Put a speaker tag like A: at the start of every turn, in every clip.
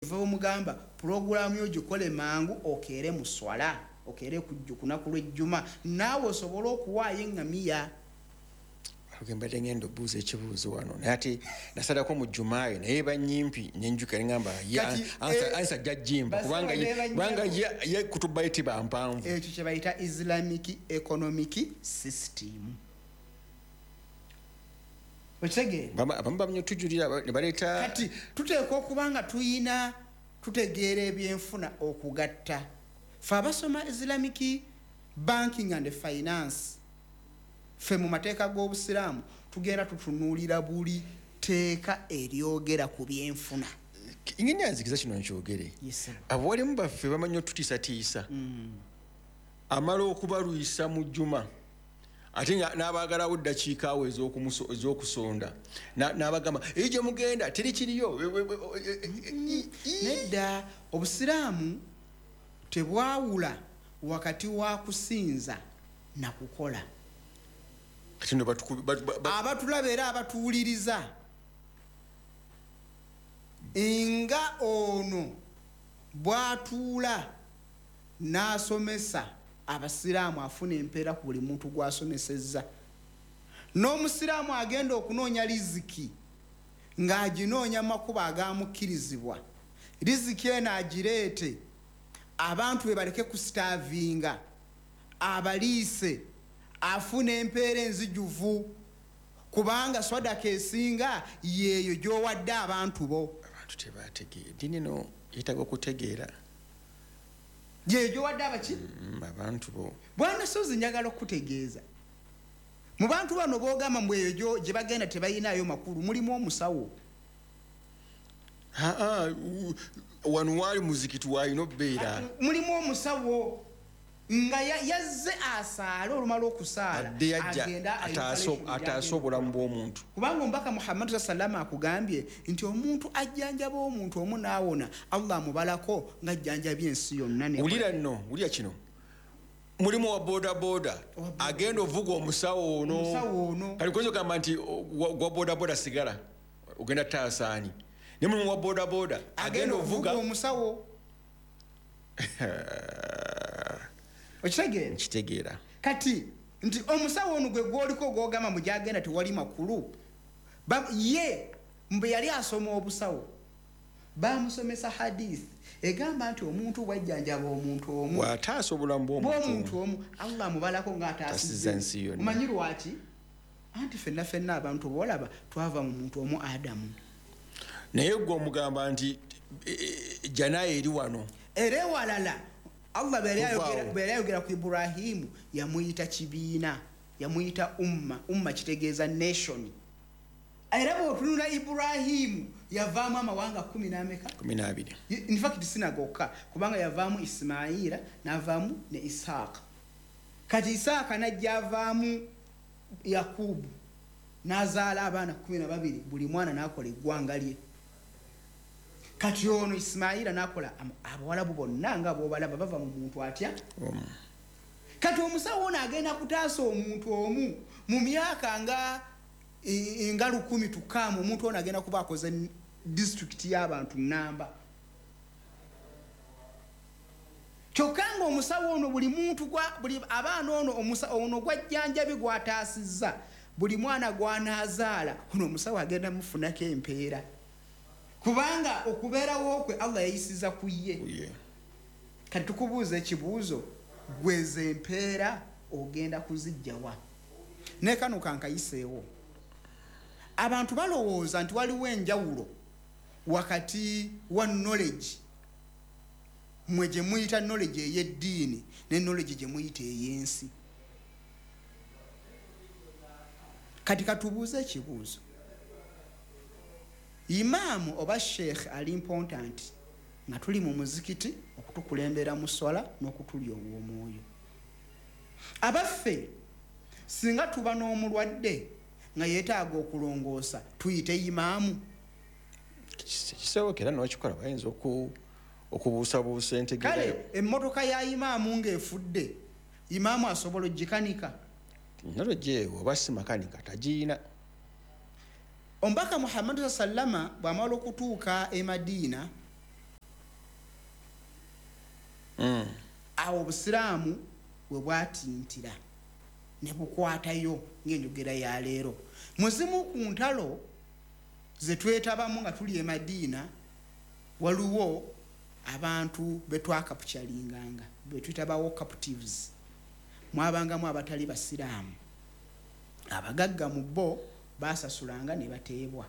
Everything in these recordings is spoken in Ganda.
A: Omugamba pulogulaamu yo gikole mangu, okeere mu swala, okeere kunaku lwejjuma, naawe osobole okuwaayo eŋŋamiya.
B: Mbadde ngenda obuuza ekibuuzo wano, naye ate nasalako mu jumaayo, naye banyimpi nenjuka neŋamba ansa ajja jimba, kubanga ye kutubayo tiba mpanvu.
A: Ekyo kyebayita Islamic economic system, okitegeera?
B: Abamu bamanya otujulira nebaleeta.
A: Kati tuteekwa okuba nga tuyina tutegeera ebyenfuna okugatta. Fe abasoma Islamic banking and finance, ffe mu mateeka g'Obusiraamu tugenda tutunuulira buli teeka eryogera ku byenfuna.
B: Ngenda nzikiza kino nkyogere. Abo walimu baffe bamanyi otutiisatiisa, amala okubalwisa mu jjuma, ate n'abaagalawo ddakiika awo ez'okusonda, n'abagamba eyo gye mugenda teri kiriyo.
A: Nedda, Obusiraamu tebwawula wakati wa kusinza nakukola.
B: Kati no
A: abatulaba era abatuwuliriza, nga ono bw'atuula n'asomesa Abasiraamu, afuna empeera ku buli muntu gw'asomesezza. N'Omusiraamu agenda okunoonya riziki ng'aginoonya makubo agamukkirizibwa, riziki eno agireete abantu be baleke kusitaavinga, abaliise, afuna empeera enzijuvu, kubanga swadaka esinga yeeyo gy'owadde abantu bo.
B: Abantu tebategeera eddiini eno, yeetaaga okutegeera.
A: Yeeyo gy'owadde abaki?
B: Abantu bo.
A: Bwana Sozi, njagala okutegeeza, mu bantu bano boogamba mbu eyo gye bagenda tebalinayo makulu, mulimu omusawo.
B: Aa, wano waali muzikiti waalina obeera.
A: Mulimu omusawo nga yazze asaale, olumala okusaala
B: adde yajja
A: agenda
B: ataase obulamu bw'omuntu.
A: Kubanga omubaka Muhammadu sallama akugambye nti omuntu ajjanjaba omuntu omu n'awona, Allah amubalako ng'ajjanjabye ensi yonna.
B: Wulira nno, wulira kino, mulimu wa boda boda agenda ovuga omusawo ono.
A: Omusawo ono.
B: Kati koza ogamba nti gwa boda boda sigala ogenda taasaani, ne mulimu wa boda boda agenda ovuga
A: omusawo, okitegeera?
B: Nkitegeera.
A: Kati nti omusawo ono gwe gwoliko gwogamba mbu gyagenda tewali makulu, ye mbe yali asoma obusawo, bamusomesa hadith egamba nti omuntu bwajjanjaba omuntu omu,
B: bw'ataasa obulamu bw'omuntu
A: bw'omuntu omu, Allah amubalako
B: Taasizza
A: ng'ataasizza
B: ensi yonna.
A: Omanyi lwaki? Anti ffenna ffenna abantu boolaba twava mu muntu omu, Adamu.
B: Naye gwe omugamba nti janayo eri wano.
A: Era ewalala Allah bwe yali
B: Tuvaawo.
A: bwe yali ayogera ku Iburahimu, yamuyita kibiina, yamuyita umma. Umma kitegeeza nation. Era bw'otunula Iburahimu yavaamu amawanga kumi n'ameka?
B: 12.
A: In fact sinagokka, kubanga yavaamu Isimaila, n'avaamu ne Isaaka. Kati Isaaka najja avaamu Yakubu, n'azaala abaana 12, buli mwana n'akola eggwanga lye. Kati ono Isimaila n'akola Abawalabu bonna nga b'obalaba bava mu muntu atya?
B: Omu.
A: Kati omusawo ono agenda kutaasa omuntu omu mu myaka nga 1000 tukaamu, omuntu ono agenda kuba akoze disitulikiti y'abantu namba. Kyokka nga omusawo ono buli muntu buli abaana ono ono gwajjanjabi gwataasizza, buli mwana gwanaazaala ono omusawo agenda mufunako empeera, kubanga okubeerawo kwe Allah yayisiza ku ye.
B: Ye.
A: Kati tukubuuza ekibuuzo, gweza empeera ogenda kuzijjawa? Ne kano kankayiseewo, abantu balowooza nti waliwo enjawulo wakati wa knowledge mwe gye muyita knowledge ey'eddiini ne knowledge gye muyita ey'ensi. Kati katubuuze ekibuuzo, imaamu oba sheekh ali important nga tuli mu muzikiti okutukulembera mu swala n'okutulya ow'omwoyo? Abaffe, singa tuba n'omulwadde nga yeetaaga okulongoosa, tuyite imaamu?
B: Kisoboka era nokikola, bayinza okubuusabuusa entegeera.
A: Kale emmotoka ya imaamu ng'efudde, imaamu asobola ogikanika?
B: Knowledge oba si makanika tagiina.
A: Omubaka Muhammadu sallama bw'amala okutuuka e Madiina Awo obusiraamu we bwatintira ne bukwatayo ng'enjogera ya leero. Muzimu ku ntalo ze twetabamu nga tuli e Madiina, waliwo abantu be twakapturinganga, be tuyitabawo captives. Mwabangamu abatali basiraamu, abagagga mu bo basasulanga ne bateebwa.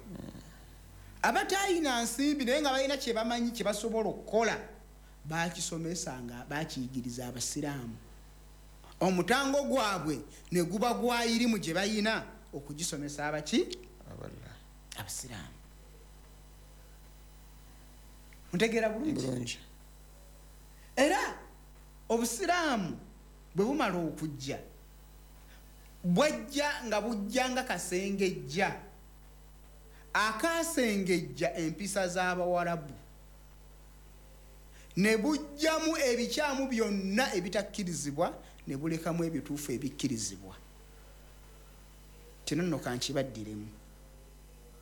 A: Abatayina nsimbi naye nga balina kye bamanyi kye basobola okukola, bakisomesanga, bakiyigiriza abasiraamu. Omutango gwabwe ne guba gwa irimu gye bayina okugisomesa abaki? Abasiraamu. Ntegeera bulungi? Era obusiraamu bwe bumala okujja, bwajja nga bujja nga kasengejja akasengejja empisa z'abawarabu, ne bujjamu ebikyamu byonna ebitakkirizibwa ne bulekamu ebituufu ebikkirizibwa. Kino nno kankibaddiremu,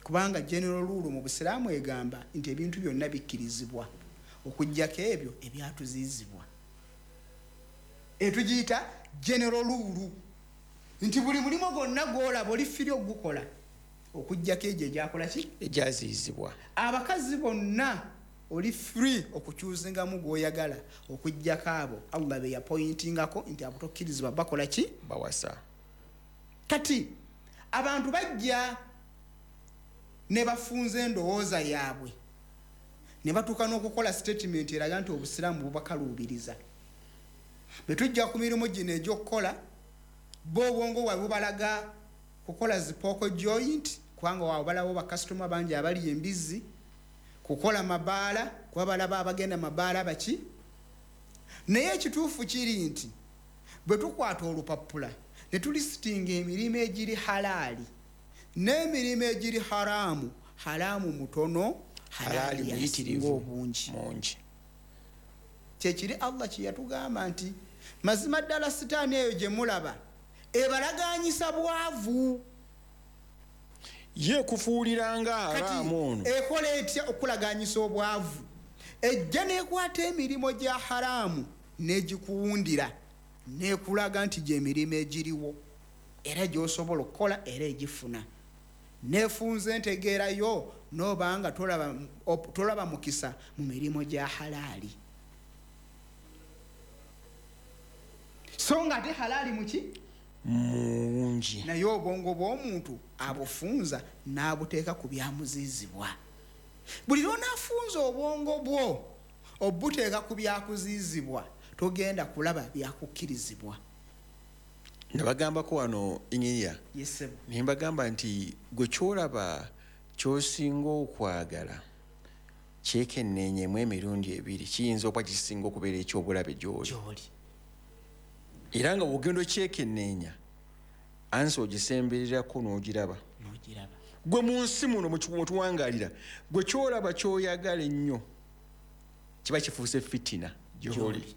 A: kubanga general rule mu busiraamu egamba nti ebintu byonna bikkirizibwa okuggyako ebyo ebyatuziyizibwa. Etugiyita general rule nti buli mulimu gwonna gw'olaba oli free ogukola okuggyako egyo egyakola ki?
B: Egyaziyizibwa.
A: Abakazi bonna oli free okukyuzingamu gw'oyagala okuggyako abo Allah be yapointingako nti abo tokkirizibwa bakola ki?
B: Bawasa.
A: Kati abantu bajja ne bafunza endowooza yaabwe ne batuuka n'okukola statement eraga nti obusiraamu bubakaluubiriza. Bwe tujja ku mirimu gino egy'okukola, bo obwongo bwabwe bubalaga kukola zi pork joint, kubanga waabwe balaba bakasitoma bangi abali embizzi, kukola mabaala, kuba balaba abagenda mabaala baki. Naye ekituufu kiri nti bwe tukwata olupapula ne tulisitinga emirimu egiri halaali n'emirimu egiri haraamu, haraamu mutono,
B: halaali
A: muyitirivu obungi.
B: Mungi.
A: Kyekiri Allah kye yatugamba nti mazima ddala sitaani eyo gye mulaba ebalaganyisa bwavu.
B: Ye kufuuliranga haraamu ono.
A: Ekola etya okulaganyisa obwavu? Ejja n'ekwata emirimu gya haraamu n'egikuwundira n'ekulaga nti gy'emirimu egiriwo era gy'osobola okukola era egifuna. Neefunza entegeerayo n'obanga tolaba mukisa mu mirimu gya halaali. So nga ate halaali muki?
B: Mungi.
A: Naye obwongo bw'omuntu abufunza n'abuteeka ku byamuzizibwa. Buli lw'onaafunza obwongo bwo obuteeka ku byakuzizibwa, togenda kulaba byakukkirizibwa.
B: Nabagambako wano Inyinya.
A: Yes, sir.
B: Ne mbagamba nti gwe ky'olaba ky'osinga okwagala kyekenneenyemu emirundi ebiri, kiyinza okuba kisinga okubeera eky'obulabe gy'oli. Era nga bw'ogenda okyekenneenya, ansi ogisembererako n'ogiraba. Gwe mu nsi muno mwe tuwangaalira, gwe ky'olaba ky'oyagala ennyo kiba kifuuse fitina gy'oli.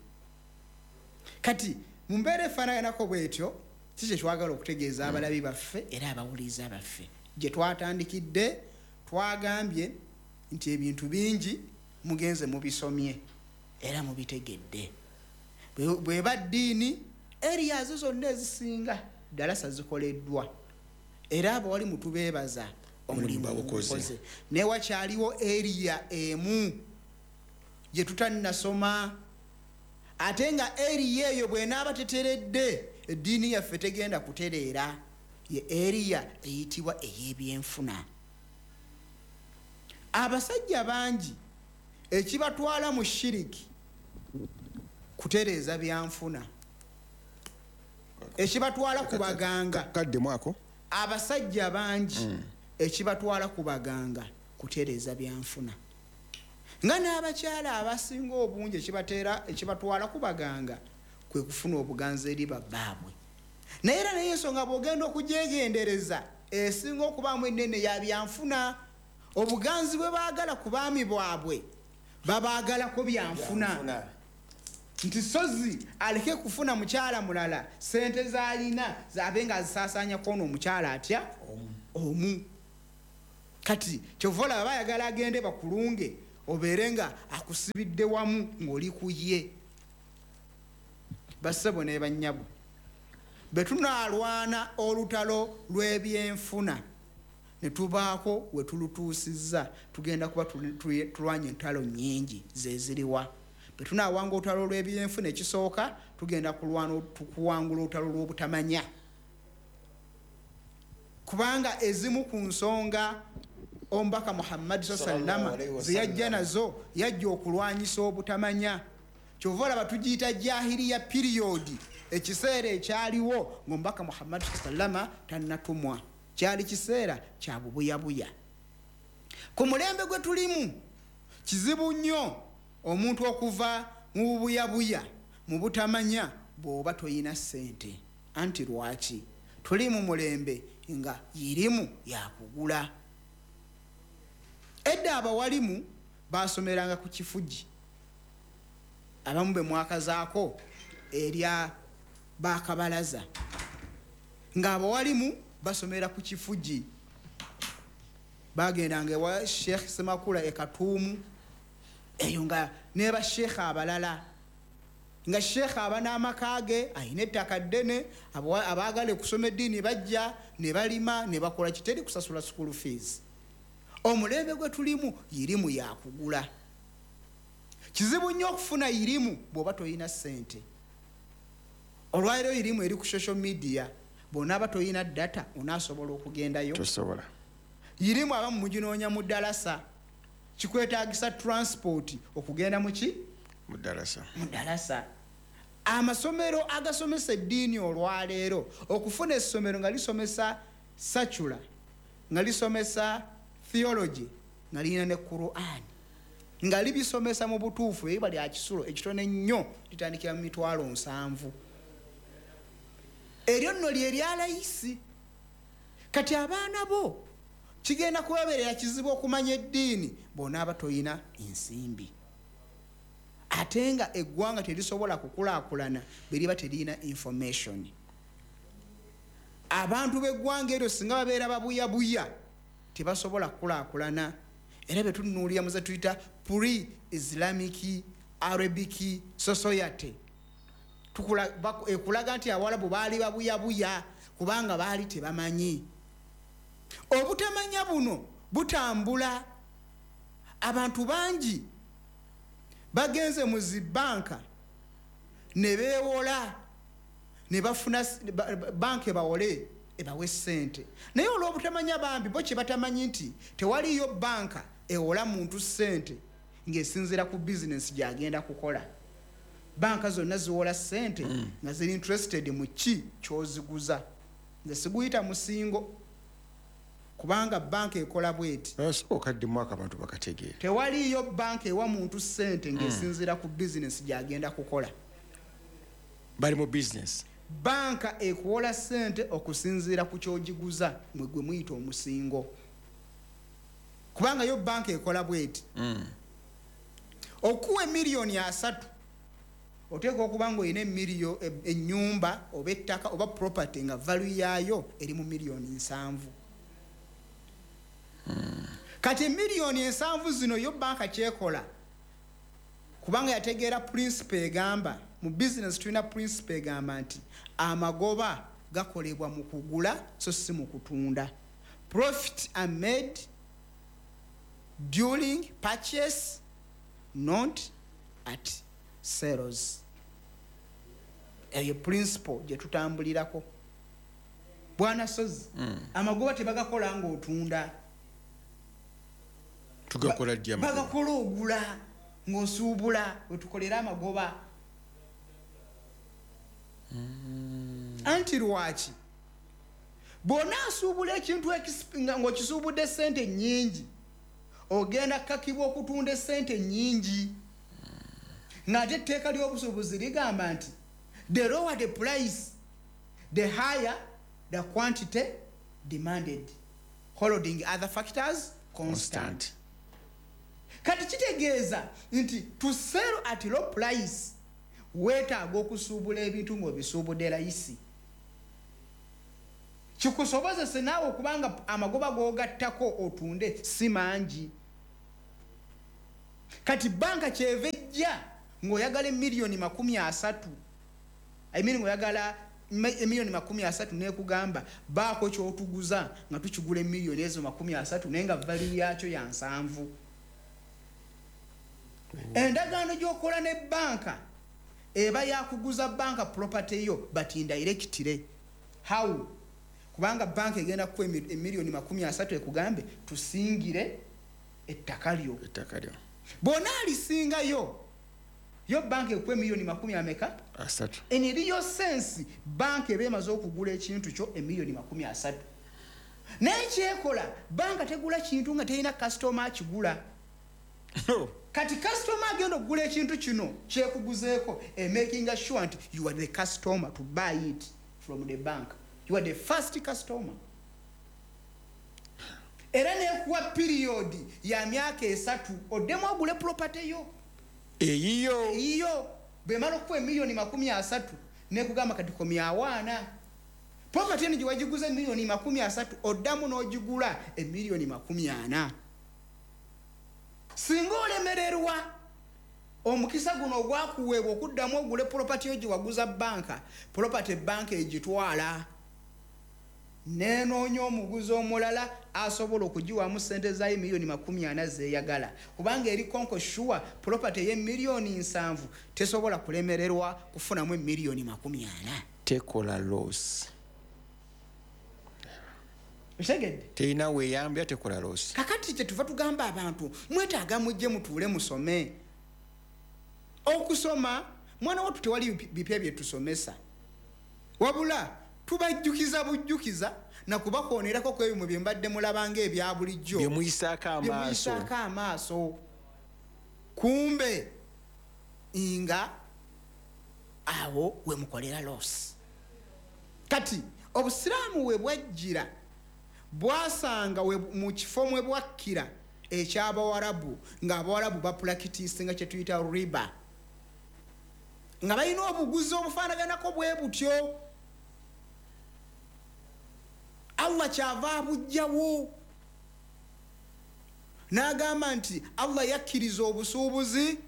A: Kati mu mbeera efaanaganako bw'etyo, si kye twagala okutegeeza abalabi baffe era abawuliriza baffe. Gye twatandikidde twagambye nti ebintu bingi mugenze mubisomye era mubitegedde. Bw'eba ddiini, areas zonna ezisinga ddalasa zikoleddwa era abawali mutubeebaza omulimu bagukoze. Naye wakyaliwo area emu gye tutannasoma, ate nga area eyo bw'enaaba teteredde eddiini yaffe tegenda kutereera. Ye area eyitibwa ey'ebyenfuna. Abasajja bangi ekibatwala mu shiriki kutereeza byanfuna, ekibatwala ku baganga. Abasajja bangi ekibatwala ku baganga kutereeza byanfuna, nga n'abakyala abasinga obungi ekibatwala ku baganga kwe kufuna obuganzi eri babbaabwe. Naye era naye ensonga bw'ogenda okugyegendereza esinga okubaamu ennene ya byanfuna. Obuganzi bwe baagala ku baami bwabwe babaagalako byanfuna. Nti sozi aleke kufuna mukyala mulala, sente z'alina z'abe nga azisaasaanyako ono omukyala atya omu. Kati kyova olaba bayagala agende bakulunge obeere nga akusibidde wamu ng'oli ku ye. Bassebo ne bannyabo, bwe tunaalwana olutalo lw'ebyenfuna ne tubaako we tulutuusizza, tugenda kuba tulwanye entalo nnyingi zeziriwa. Bwe tunaawanga olutalo lw'ebyenfuna, ekisooka tugenda kulwana kuwangula olutalo lw'obutamanya, kubanga ezimu ku nsonga Omubaka Muhammadi sallama zeyajja nazo, yajja okulwanyisa obutamanya. Kyova olaba tugiyita jahiliya period, ekiseera ekyaliwo ngaomubaka Muhammadi sallama tannatumwa, kyali kiseera kya bubuyabuya. Ku mulembe gwe tulimu kizibu nnyo omuntu okuva mu bubuyabuya, mu butamanya, bw'oba toyina ssente. Anti lwaki? Tuli mu mulembe nga yirimu yakugula. Edda abawalimu basomeranga ku kifugi, abamu be mwakazaako erya bakabalaza, ng'abawalimu basomera ku kifugi, bagendanga ewa Sheekh Semakula e Katuumu eyo, nga ne basheekh abalala, nga sheekh aba n'amaka ge, ayina ettaka ddene, abaagala okusoma eddiini bajja ne balima ne bakola, kiteri kusasula school fees. Omulembe gwe tulimu yirimu yakugula. Kizibu nnyo okufuna yirimu bw'oba toyina ssente. Olwaliro yirimu eri ku social media, bw'onaaba toyina data onaasobola okugendayo?
B: Tosobola.
A: Yirimu abamu muginoonya mu ddalasa, kikwetagisa transport okugenda muki?
B: Mu ddalasa.
A: Mu ddalasa. Amasomero agasomesa eddiini olwaleero, okufuna essomero nga lisomesa secular, nga lisomesa theology, nga lirina ne Quran, nga libisomesa mu butuufu, eriba lya kisulo ekitono ennyo, litandikira mu 700,000. Eryo nno lye lyalayisi. Kati abaana bo kigenda kubabeerera kizibu okumanya eddiini bw'onaaba toyina ensimbi, ate nga eggwanga terisobola kukulaakulana bwe liba teriyina information. Abantu b'eggwanga eryo singa babeera babuyabuya, tebasobola kukulaakulana. Era bwe tunuulira muze tuyita pre Islamic Arabic society, ekulaga nti Abawalabu baali babuyabuya kubanga baali tebamanyi. Obutamanya buno butambula. Abantu bangi bagenze mu zibanka ne beewola, ne bafuna banka ebawole, ebawe ssente, naye olw'obutamanya bambi bo kye batamanyi nti tewaliyo banka ewola muntu ssente ng'esinziira ku bizinesi gy'agenda kukola. Banka zonna ziwola ssente nga ziri interested mu ki ky'oziguza. Nze siguyita musingo, kubanga banka ekola bweti.
B: Okaddemu abantu bakategeera.
A: Tewaliyo banka ewa muntu ssente ng'esinziira ku bizinesi gy'agenda kukola.
B: Bali mu bizinesi.
A: Banka ekuwola ssente okusinziira ku kyogiguza, mwe gwe muyita omusingo, kubanga yo banka ekola bweti: okuwa 30 million, oteeka okuba nga olina ennyumba oba ettaka oba property nga value yaayo eri mu 70 million. Kati 70 million zino, yo banka kyekola, kubanga yategeera principle egamba mu business, tulina principle egamba nti amagoba gakolebwa mu kugula so si mu kutunda. Profit are made during purchase, not at sales. Eyo principle gye tutambulirako, bwana Sozi. Amagoba tebagakola ngaotunda.
B: Tugakola ddi amagoba?
A: Bagakola ogula, ng'osuubula, wetukolera amagoba. Anti lwaki? Bw'onaasuubula ekintu ng'okisuubudde sente nnyingi, ogenda kukakibwa okutunda esente nnyingi, ng'ate etteeka ly'obusuubuzi ligamba nti the lower the price, the higher the quantity demanded, holding other factors constant.
B: Constant.
A: Kati kitegeeza nti to sell at low price, weetaaga okusuubula ebintu ng'obisuubudde layisi, kikusobozese naawe okubanga amagoba g'ogattako otunde si mangi. Kati banka kyeva ejja ng'oyagala 30 million, I mean oyagala emiliyoni 30 nekugamba baako kyotuguza nga tukigula emiliyoni ezo 30 naye nga value yakyo ya 70. Endagaano gy'okola ne banka eba yakuguza banka property yo but indirectly. How? Kubanga banka egenda kuwa emiliyoni 30 ekugambe tusingire ettaka lyo. Bw'ona alisingayo yo banka ekuwa emiliyoni 30 ameka?
B: 30.
A: In real sense banka eba emaze okugula ekintu kyo emiliyoni 30. Naye kyekola banka tegula kintu nga terina customer akigula. Kati customer agenda okugula ekintu kino kyekuguzeeko, making sure nti you are the customer to buy it from the bank. You are the first customer. Era nekuwa period ya myaka 3 oddemu ogule property yo. Eyiyo. Bwemala okuwa emiliyoni 30 nekugamba kati komyawaana. Property eno gye wagiguza emiliyoni 30 oddamu n'ogigula emiliyoni 40. Singa olemererwa omukisa guno ogwakuweebwa okuddamu ogule property yo gye waguza banka, property banka egitwala nenoonya omuguzi omulala asobola okugiwamu ssente zayo miliyoni 40 zeeyagala, kubanga eri konko sure property ey'emiliyoni 70 tesobola kulemererwa kufunamu emiliyoni 40.
B: Tekola loss.
A: Otegedde?
B: Terina weeyambya, tekola loss.
A: Kakati kye tuva tugamba abantu mwetaaga mujje mutuule musome. Okusoma mwana wattu tewali bipya bye tusomesa, wabula tubajjukiza bujjukiza na kubakoonerako ku ebyo bye mbadde mulaba ng'ebya bulijjo
B: bye muyisaako
A: amaaso. Kumbe nga awo we mukolera loss. Kati obusiraamu we bwajjira bwasanga mu kifo mwe bwakkira eky'abawarabu, ng'abawarabu bapulakitiisinga kye tuyita riba, nga balina obuguzi obufaanaganako bwe butyo. Allah kyava abuggyawo n'agamba nti Allah yakkiriza obusuubuzi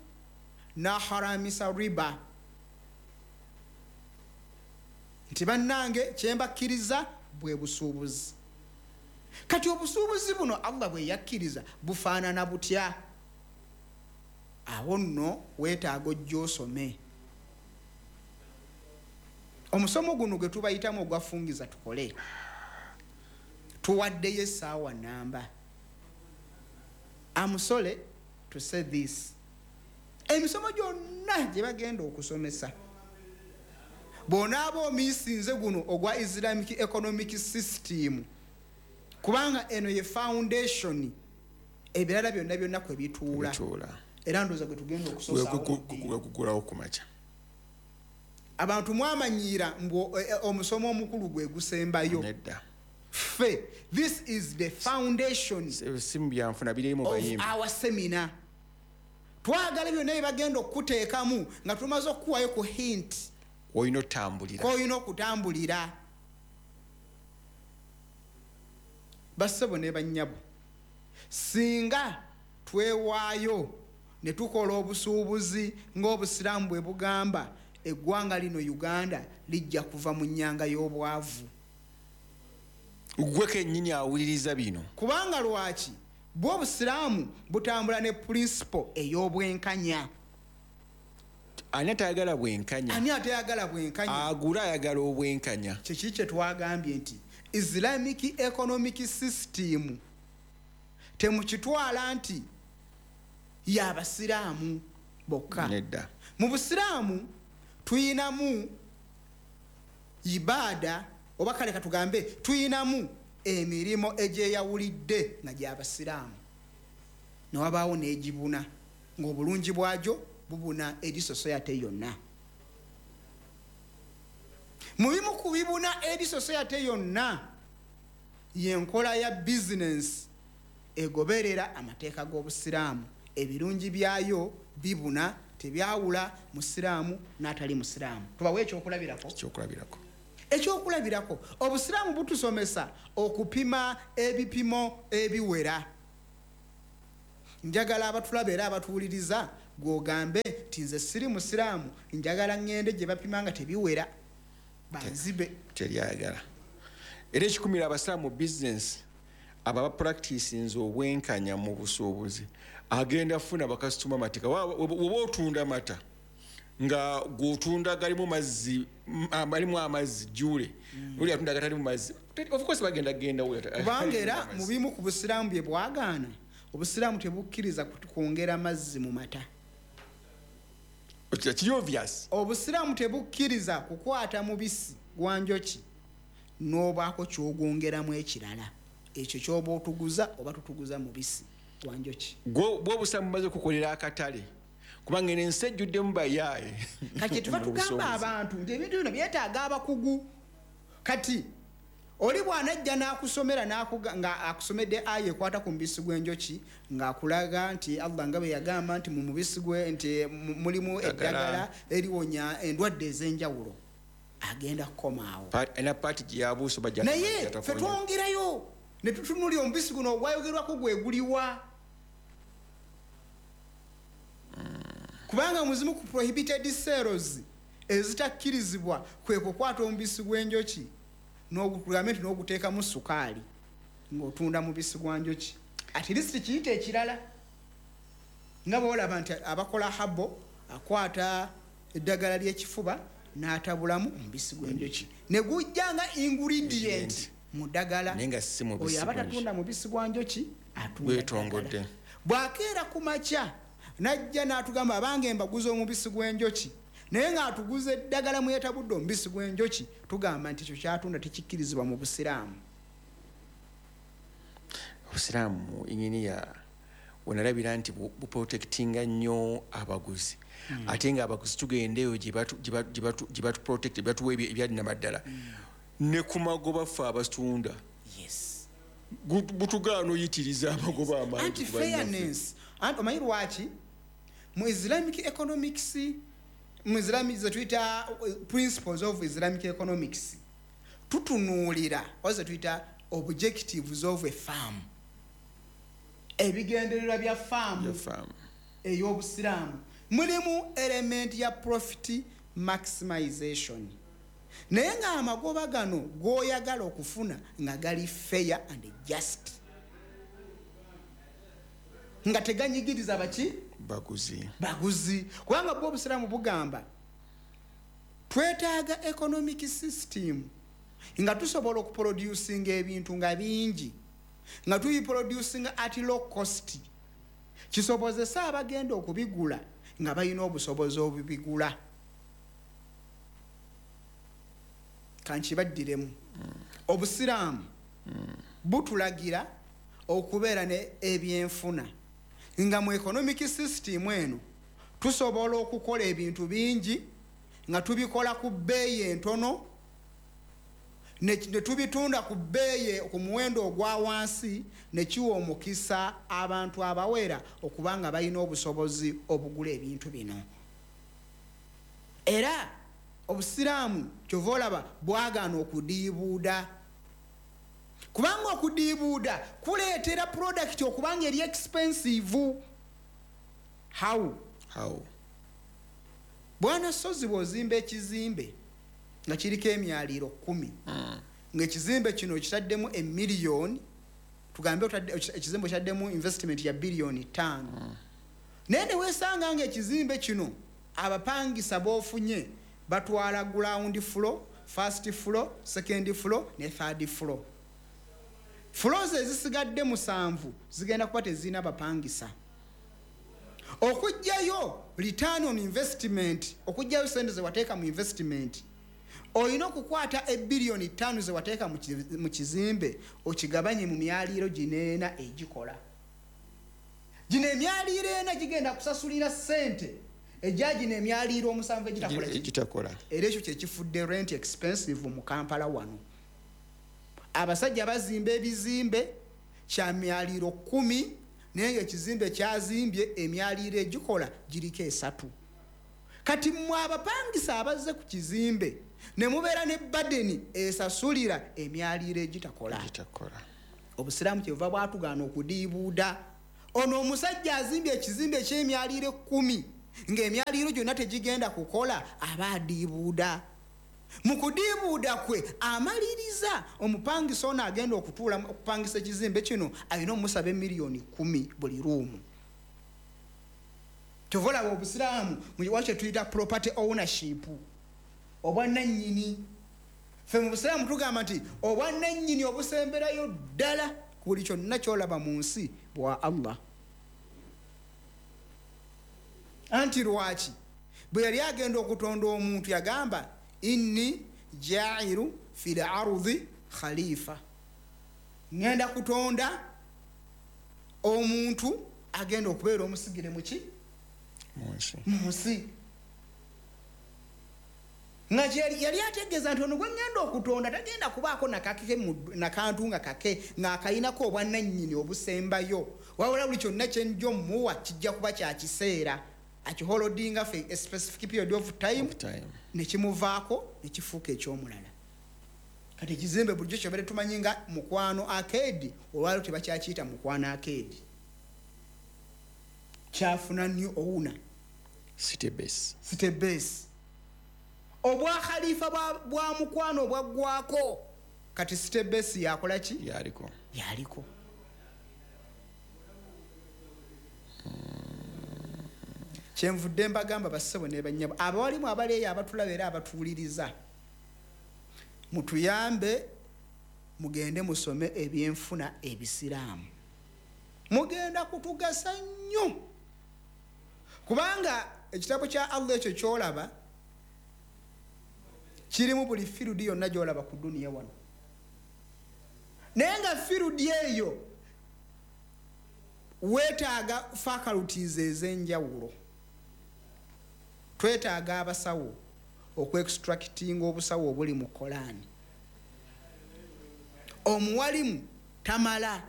A: n'aharamisa riba, nti bannange kye mbakkiriza bwe busuubuzi. Kati obusuubuzi buno Allah bwe yakkiriza bufaanana butya? Awo nno weetaaga ojja osome. Omusomo guno gwe tubayitamu ogwafungiza tukole, tuwaddeyo essaawa namba. I'm sorry to say this. Emisomo gyonna gye bagenda okusomesa, bw'onaaba omiisinze guno ogwa Islamic economic system, kubanga eno ye foundation ebirala byonna byonna kwe bituula. Era ndowooza gwe tugenda
B: okusoosawo ku makya.
A: Abantu mwamanyiira mbu omusomo omukulu gwe gusembayo. Ffe, this is the foundation of our seminar. Twagala byonna bye bagenda okuteekamu nga tumaze okukuwayo ku hint
B: kw'olina
A: okutambulira. Bassebo ne bannyabo, singa twewaayo ne tukola obusuubuzi ng'obusiraamu bwe bugamba, eggwanga lino Uganda lijja kuva mu nnyanga y'obwavu.
B: Gwe kennyini awuliriza bino.
A: Kubanga lwaki? Bwe obusiraamu butambula ne principle ey'obwenkanya.
B: Ani atayagala bwenkanya?
A: Ani atayagala bwenkanya?
B: Agula ayagala obwenkanya.
A: Kiki kye twagambye nti Islamic economic system temukitwala nti y'abasiraamu bokka.
B: Nedda.
A: Mu busiraamu tuyinamu ibada, oba kale katugambe tuyinamu emirimu egyeyawulidde nga gy'abasiraamu, ne wabaawo n'egibuna ng'obulungi bwagyo bubuna eri society yonna. Mu bimu ku bibuna eri society yonna y'enkola ya business egoberera amateeka g'obusiraamu. Ebirungi byayo bibuna, tebyawula musiraamu n'atali musiraamu. Tubawe ekyokulabirako. Ekyokulabirako, obusiraamu butusomesa okupima ebipimo ebiwera. Njagala abatulaba era abatuwuliriza gw'ogambe nti Ti nze siri musiraamu, njagala ŋŋende gye bapima nga tebiwera banzibe.
B: Teryagala. Era ekikumira abasiraamu mu bizinesi, abo abapracticinze obwenkanya mu busuubuzi, agenda funa bakasitoma mateeka. Woba otunda mata nga gwotunda galimu mazzi, alimu amazzi jule, oli atunda gatalimu mazzi, of course bagenda genda.
A: Kubanga era mu bimu ku busiraamu bye bwagaana, obusiraamu tebukkiriza kwongera mazzi mu mata.
B: Kiri obvious.
A: Obusiraamu tebukkiriza kukwata mubisi gwa njoki n'obaako ky'ogwongeramu ekirala. Ekyo ky'oba otuguza oba tutuguza mubisi gwa njoki.
B: Bwo obusiraamu bumaze kukolera akatale, kubanga eno ensi ejjuddemu bayaaye.
A: Kati tuba tugamba abantu nti ebintu bino byetaaga abakugu. Kati oli bw'anajja n'akusomera nga akusomedde aya ekwata ku mubisi gw'enjoki, ng'akulaga nti Allah nga bwe yagamba nti mu mubisi gwe nti mulimu eddagala eriwonya endwadde ez'enjawulo, agenda kukomaawo.
B: Ena paati gye yabuusa bajja
A: naye ffe twongerayo ne tutunuulira omubisi guno ogwayogerwako gwe guliwa. Kubanga muzimu ku prohibited sales ezitakkirizibwa kwe kukwata omubisi gw'enjoki n'ogukugambe nti n'oguteekamu sukaali ng'otunda mubisi gwa njoki. At least kiyite ekirala nga bw'olaba nti abakola habo akwata eddagala ly'ekifuba n'atabulamu omubisi gw'enjoki ne gujja nga ingredient mu ddagala.
B: Naye nga si mubisi
A: Oyo aba
B: gw'enjoki.
A: tatunda mubisi gwa njoki, atunda
B: Weetongodde.
A: ddagala. Bw'akeera ku makya n'ajja n'atugamba abange mbaguza omubisi gw'enjoki, naye ng'atuguza eddagala mwe yeetabudde omubisi gw'enjoki, tugamba nti ekyo ky'atunda tekikkirizibwa mu busiraamu.
B: Obusiraamu inginiya wenalabira nti buprotectinga nnyo abaguzi. Ate nga abaguzi tugenda eyo gye batu protect, gye batuwa ebyaddala. Ne ku magoba ffe abatunda. Butugaana oyitiriza amagoba amangi
A: Anti
B: ku bannaffe.
A: fairness. Anti omanyi lwaki? Mu Islamic economics, mu Islamic ze tuyita principles of Islamic economics, tutunuulira oba ze tuyita objectives of a firm. Ebigendererwa bya firm
B: Bya firm.
A: ey'obusiraamu mulimu element ya profit maximization, naye ng'amagoba gano g'oyagala okufuna nga gali fair and just, nga teganyigiriza baki?
B: Baguzi.
A: Baguzi. Kubanga bwo obusiraamu bugamba twetaaga economic system nga tusobola okuproducinga ebintu nga bingi, nga tubiproducinga at low cost, kisobozesa abagenda okubigula nga balina obusobozi obubigula. Kankibaddiremu. Obusiraamu butulagira okubeera ne ebyenfuna nga mu economic system eno tusobola okukola ebintu bingi nga tubikola ku bbeeyi entono ne tubitunda ku bbeeyi ku muwendo ogwa wansi, ne kiwa omukisa abantu abawera okuba nga balina obusobozi obugula ebintu bino. Era obusiraamu kyova olaba bwagaana okudiibuuda, kubanga okudiibuuda kuleetera product okuba nga eri expensive. How?
B: How?
A: Bwana Ssozi, bw'ozimba ekizimbe nga kiriko emyaliiro 10, ng'ekizimbe kino kitaddemu emiliyoni, tugambe ekizimbe kitaddemu investment ya biliyoni 5, naye ne weesanga ng'ekizimbe kino abapangisa b'ofunye batwala ground floor, first floor, second floor ne third floor. Floors ezisigadde 7 zigenda kuba tezirina bapangisa. Okuggyayo return on investment, okuggyayo sente ze wateeka mu investment, olina okukwata ebiliyoni 5 ze wateeka mu kizimbe okigabanye mu myaliiro gino ena egikola. Gino emyaliiro ena gigenda kusasulira ssente egya gino emyaliiro 7 egitakola ki?
B: Egitakola.
A: Era ekyo kye kifudde rent expensive mu Kampala wano. Abasajja bazimba ebizimbe kya myaliiro 10, naye ng'ekizimbe kyazimbye emyaliiro egikola giriko 3. Kati mmwe abapangisa abazze ku kizimbe ne mubeera ne badeni esasulira emyaliiro egitakola.
B: Egitakola.
A: Obusiraamu kyebuva bwatugaana okudiibuuda. Ono omusajja azimbye ekizimbe eky'emyaliiro 10, Ng'emyaliiro gyonna tegigenda kukola, aba adiibuuda. Mu kudiibuuda kwe amaliriza omupangisa ono agenda okutuula okupangisa ekizimbe kino alina omusaba emiliyoni 10 buli ruumu. Kyova olaba obusiraamu wakye tuyita property ownership, obwannannyini. Ffe mu busiraamu tugamba nti obwannannyini obusemberayo ddala ku buli kyonna ky'olaba mu nsi bwa Allah. Anti lwaki bwe yali agenda okutonda omuntu yagamba inni jairu fil ardi khalifa, ngenda kutonda omuntu agenda okubeera omusigire muki mu nsi. Nga yali ategeeza nti ono gwe ngenda okutonda tagenda kubaako nakantu nga kake ng'akayinako obwannannyini obusembayo, wabula buli kyonna kye nja omuwa kijja kuba kya kiseera, akiholodinga for a specific period of time, nekimuvaako nekifuuka eky'omulala. Kati ekizimbe bulijjo kyobere tumanyi nga Mukwano Arcade, olwaliro tebakyakiyita Mukwano Arcade, kyafuna new owner,
B: City Base.
A: City Base. Obwa khalifa bwa Mukwano obwaggwako, kati City Base yakola ki?
B: Yaliko.
A: Yaliko. Kyenvudde mbagamba bassebo ne bannyabo abawalimu abaleeyo abatulaba era abatuwuliriza, mutuyambe mugende musome ebyenfuna ebisiraamu, mugenda kutugasa nnyo, kubanga ekitabo kya Allah ekyo ky'olaba kirimu buli firudi yonna gy'olaba ku duniya wano, naye nga firudi eyo weetaaga faculties ez'enjawulo. Twetaaga abasawo okuextractinga obusawo obuli mu Koraani. Omuwalimu tamala,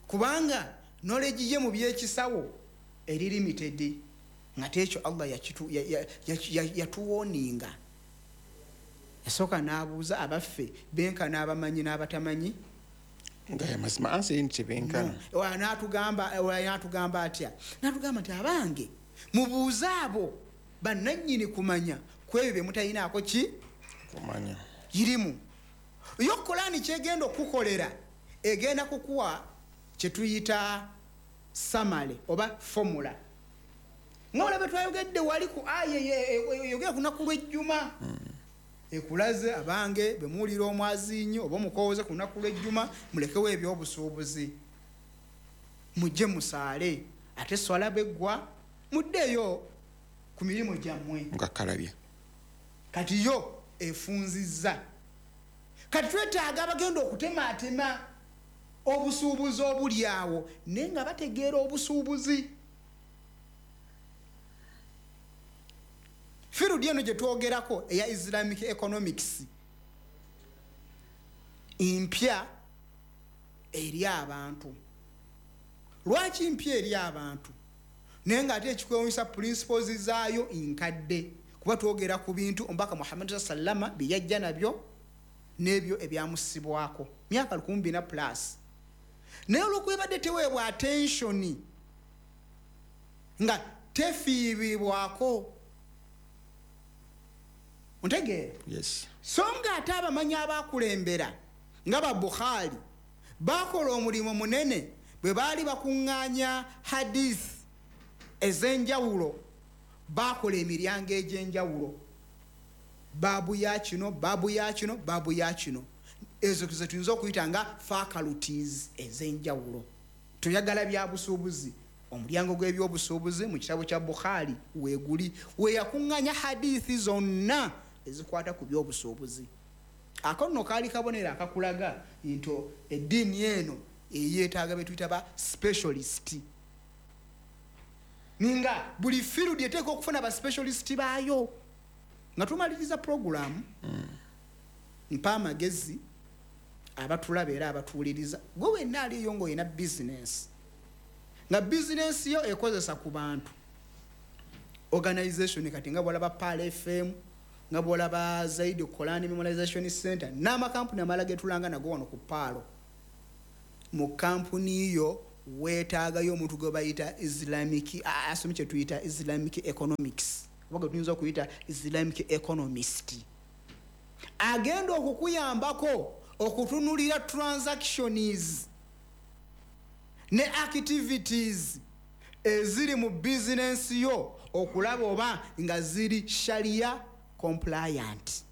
A: kubanga knowledge ye mu by'ekisawo eri limited, nga tekyo Allah yatuwoninga. Yasooka n'abuuza abaffe benkana abamanyi n'abatamanyi,
B: nga yamazima ansi eri nti tebenkana.
A: N'atugamba atya? N'atugamba nti abange mubuuze abo bannannyini kumanya ku ebyo bye mutayinaako ki
B: kumanya.
A: Irimu yo Koraani kyegenda okukukolera egenda kukuwa kye tuyita samale oba formula, nga olabe twayogedde wali ku aya eyogera ku lunaku lw'ejjuma, ekulaze abange bwe muwulira omwazinyi oba omukooze ku lunaku lw'ejjuma mulekewo ebyobusuubuzi mujje musaale, ate swala bweggwa muddeyo ku mirimu gyammwe
B: nga kalabye.
A: Kati yo efunzizza. Kati twetaaga abagenda okutemaatema obusuubuzi obuli awo naye nga bategeera obusuubuzi. Firudi eno gye twogerako eya Islamic economics mpya eri abantu. Lwaki mpya eri abantu? Naye ng'ate ekikwewuunyisa principles zaayo nkadde, kuba twogera ku bintu omubaka Muhammad sallama bye yajja nabyo n'ebyo ebyamusibwako myaka 1400 plus, naye olw'okuba teweebwa attention nga tefiibibwako. Ontegeera?
B: Yes.
A: So nga ate abamanyi abakulembera nga ba Bukhari bakola omulimu munene bwe baali bakuŋŋaanya hadith ez'enjawulo, bakola emiryango egy'enjawulo, baabu ya kino, baabu ya kino, baabu ya kino, ezo ze tuyinza okuyita nga faculties ez'enjawulo. Tuyagala bya busuubuzi, omulyango gw'ebyobusuubuzi mu kitabo kya Bukhari weeguli, we yakuŋŋaanya hadithi zonna ezikwata ku byobusuubuzi. Ako nno kaali kabonero akakulaga nti eddiini eno eyeetaaga be tuyita ba specialist, nga buli field eteekwa okufuna ba specialist baayo. Nga tumaliriza puroguramu, mpa amagezi abatulaba era abatuwuliriza, gwe wenna aliyo ng'olina bizinensi, nga bizinensi yo ekozesa ku bantu, organization kati nga bw'olaba Pearl FM, nga bw'olaba Zaidi Quran Memorization Center n'amakampuni amalala ge tulanga nago wano ku Paalo, mu kampuni yo Weetaagayo omuntu gwe bayita Islamic, asome kye tuyita Islamic economics, oba gwe tuyinza okuyita Islamic economist, agenda okukuyambako okutunulira transactions ne activities eziri mu bizinensi yo, okulaba oba nga ziri sharia compliant.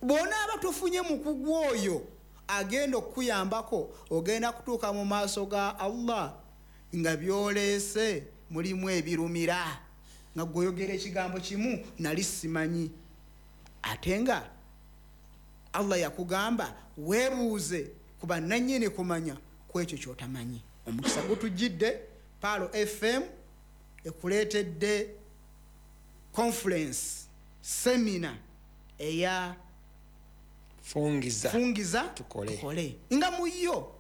A: Bw'onaaba tofunye mukugu oyo agenda okukuyambako, ogenda kutuuka mu maaso ga Allah nga byoleese mulimu ebirumira, nga gweoyogera ekigambo kimu nali simanyi, ate nga Allah yakugamba weebuuze ku bannannyini kumanya ku ekyo ky'otamanyi. Omukisa gutujjidde, Pearl FM ekuleetedde conference seminar eya
B: Fungiza,
A: Fungiza
B: Tukole.
A: Tukole, nga mu yo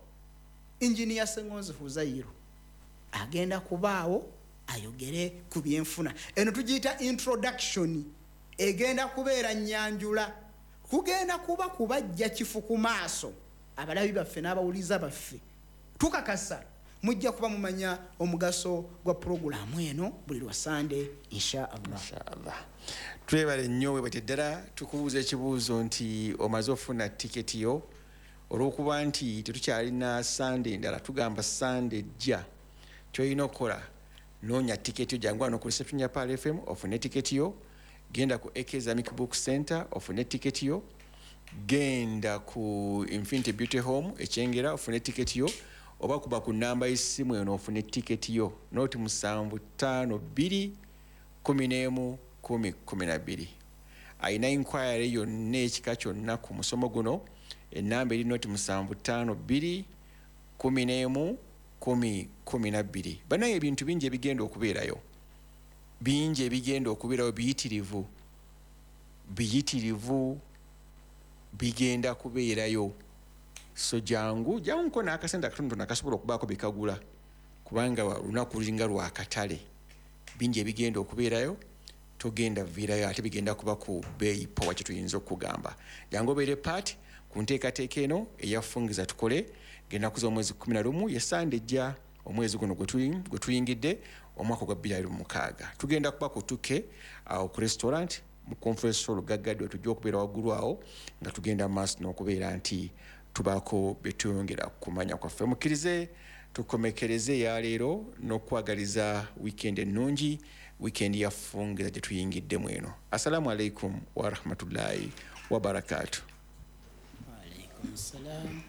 A: Engineer Sengonzi Huzairu agenda kubaawo ayogere ku byenfuna. Eno tugiyita introduction, egenda kubeera nnyanjula, kugenda kuba kubajja kifu ku maaso abalabi baffe n'abawuliza baffe. Tukakasa mujja kuba mumanya omugaso gwa puroguramu eno buli lwa Sande, insha Allah.
B: Inshallah. Twebale nnyo, webate ddala. Tukubuuza ekibuuzo nti omaze ofuna tiketi yo? Olw'okuba nti tetukyalina Sande endala, tugamba Sande ejja, kyolina okukola noonya tiketi yo, jangu wano ku reception ya Pearl FM ofune tiketi yo, genda ku AK Islamic Book Center ofune tiketi yo, genda ku Infinity Beauty Home Ekyengera ofune tiketi yo, oba kuba ku namba y'essimu eno ofune tiketi yo, 075 2 11 10 12. Ayina inquiry yonna ekika kyonna ku musomo guno, enamba eri 075 2 11 10 12. Banaye ebintu bingi ebigenda okubeerayo, bingi ebigenda okubeerayo, biyitirivu, biyitirivu bigenda kubeerayo. So jangu, janguko n'akasente akatonotono akasobola okubaako bikagula, kubanga lunaku lulinga lwakatale. Bingi ebigenda okubeerayo, togenda viirayo, ate bigenda kuba ku bbeeyi powa. Kyetuyinza okugamba, jangu obeere part ku nteekateeka eno eyafungiza tukole. Genda kuza omwezi 11, yesande ejja, omwezi guno gwe tuyingidde, omwaka gwa 2026. Tugenda kuba ku tuke awo ku restaurant mu conference hall gaggadde, tujja okubeera waggulu awo nga tugenda mu maaso n'okubeera nti tubaako bye tuyongera kumanya kwaffe. Mukkirize tukomekereze eyaleero n'okwagaliza weekend ennungi, weekend ya fungiza gye tuyingiddemu eno. Assalamu alaikum warahmatullahi wabarakatu.
A: Waalaikum salam.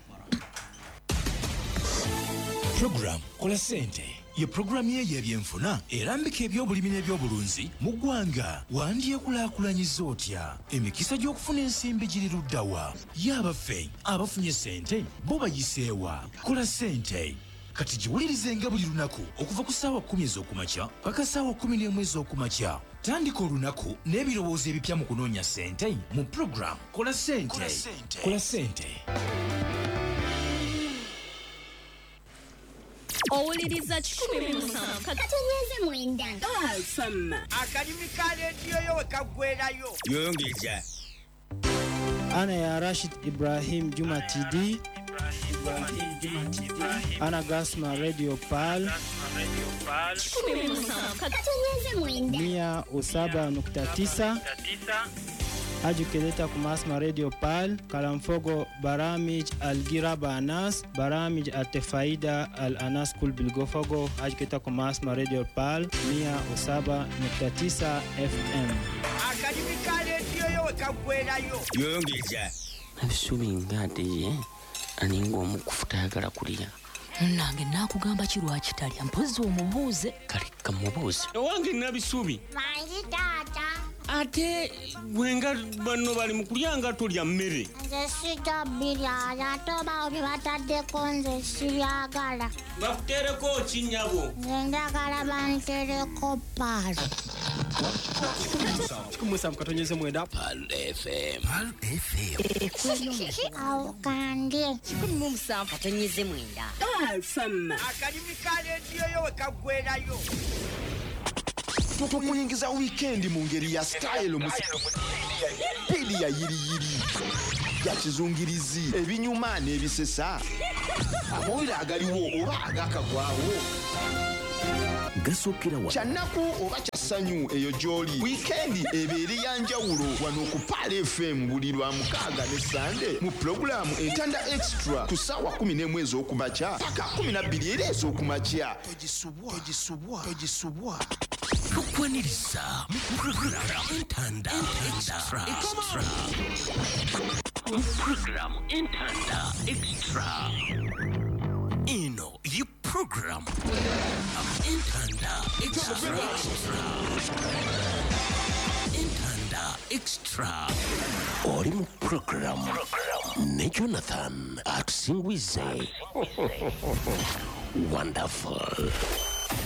C: Program Kola Sente ye puroguramu ye y'ebyenfuna erambika ebyobulimi n'ebyobulunzi mu ggwanga. Wandyekulaakulanyiza otya? Emikisa gy'okufuna ensimbi giri luddawa? Ye abaffe abafunye sente bo bayiseewa? Kola Sente kati giwulirizenga buli lunaku okuva ku ssaawa 10 ez'okumakya paka ssaawa 11 ez'okumakya. Tandika olunaku n'ebirowoozo ebipya mu kunoonya sente mu program Kola Sente. Kola Sente.
D: Owuliriza 17
E: 9.
F: Akalimi ka leediyo yo we kaggwerayo.
G: Yongeza.
H: أنا يا راشد إبراهيم جمعة تي دي، أنا قاسمة راديو بال
E: 17
H: 107.9 أجي kumasma radio pal kalamfogo baramij algiraba anas baramij altefaida al anas kul bilgofogo ajiketa kumasma radio pal 107.9 FM.
F: Akalimi ka leediyo yo we kaggwerayo.
G: Yongeza.
I: Ebisubi nga ye aninga omukufu tayagala kulya.
J: Nange naakugamba ki lwaki talya, mpozzi omubuuze.
I: Kale kamubuuze.
G: Owange Nabisubi.
E: Mangi taata.
G: Ate gwe nga banno bali mu kulya nga tolya mmere.
E: Nze sijja birya, ate oba bye bataddeko nze sibyagala.
G: Bakuteereko ki nnyabo?
E: Nze njagala bantereko Pearl.
H: 17.9
I: Pearl FM.
C: Pearl FM.
E: Awo kandye.
J: 17.9.
F: Akalimi ka leediyo yo we kaggwerayo.
K: Tukuyingiza weekend mu ngeri ya style, mu pili ya yiriyiri. Bya kizungirizi, ebinyuma n'ebisesa, amawulire agaliwo oba agakagwawo,
L: Gasookera wa
K: Kyannaku oba kya ssanyu, eyo gy'oli. Wiikendi ebeere ya njawulo wano ku Pearl FM buli lwa mukaaga ne Sande mu pulogulaamu Entanda Extra ku ssaawa 11 ez'okumakya paka 12 era ez'okumakya.
L: Togisubwa, togisubwa, togisubwa. Tukwaniriza mu program Entanda Extra. Mu program Entanda Extra, eno ye program Entanda Extra. Entanda Extra, oli mu program ne Jonathan Atusingwize. Wonderful.